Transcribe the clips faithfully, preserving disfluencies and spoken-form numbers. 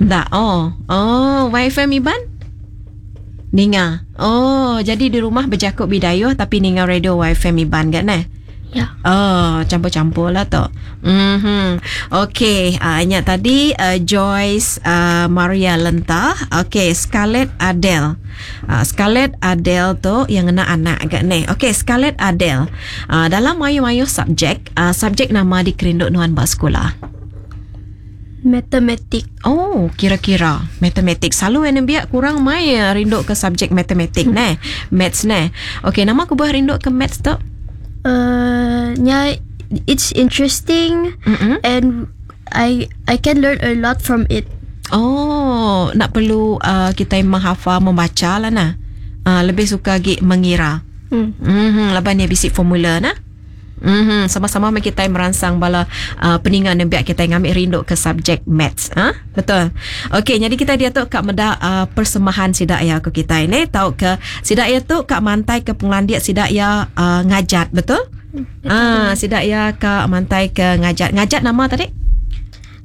Enda. Oh. Oh, Y F M Iban? Ninga. Oh, jadi di rumah berjaku Bidayuh tapi ninga radio Y F M Iban kan eh? Ya. Oh, campur-campur lah tu. Mhm. Okey, uh, ingat tadi uh, Joyce uh, Maria Lenta. Okey, Scarlett Adele. Uh, Scarlett Adele tu yang kena anak agak ni. Okey, Scarlett Adele. Uh, dalam mayu-mayu subjek, uh, subjek nama dikerinduk nuan buat sekolah? Matematik. Oh, kira-kira matematik. Selalu yang biak kurang mai eh, rindu ke subjek matematik ne. Maths ne. Okey, nama aku buah rindu ke maths tu? Uh, yeah, it's interesting Mm-mm. and I I can learn a lot from it. Oh, nak perlu uh, kita menghafal membaca lah nah. Uh, lebih suka lagi mengira. Hmm. Mhm, laban dia bisik formula nah. Mhm, sama-sama kita merangsang bala uh, peningan dan biar kita ngambil rindu ke subjek maths. Ha? Betul. Okey, jadi kita dia tu kak meda uh, persembahan sidak ya ke kita ini tahu ke sidak ya tu kak mantai ke pengelandiak sidak ya uh, ngajat, betul? Ah, sidak ya kak mantai ke ngajat. Ngajat nama tadi?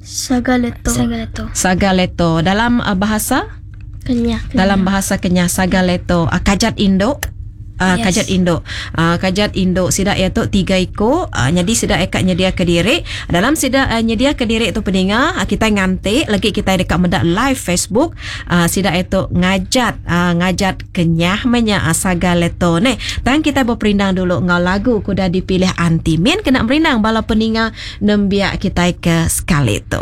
Sagaleto. Sagaleto. Sagaleto. Dalam uh, bahasa? Kenyah. Dalam bahasa Kenyah Sagaleto. Uh, kajat induk. Uh, Yes. Kajat induk. Uh, kajat induk sidak ya tu tiga iko. Uh, jadi sidak ekat nyedia ke diri. Dalam sidak uh, nyedia ke diri tu peninga, uh, kita nganti lagi kita dekat mendak live Facebook. Uh, sidak itu ngajat uh, ngajat Kenyah menya uh, Sagaleto ni. Tang kita berperindang dulu ngau lagu kuda dipilih anti min kena merindang bala peninga nembiak kita ke sekali tu.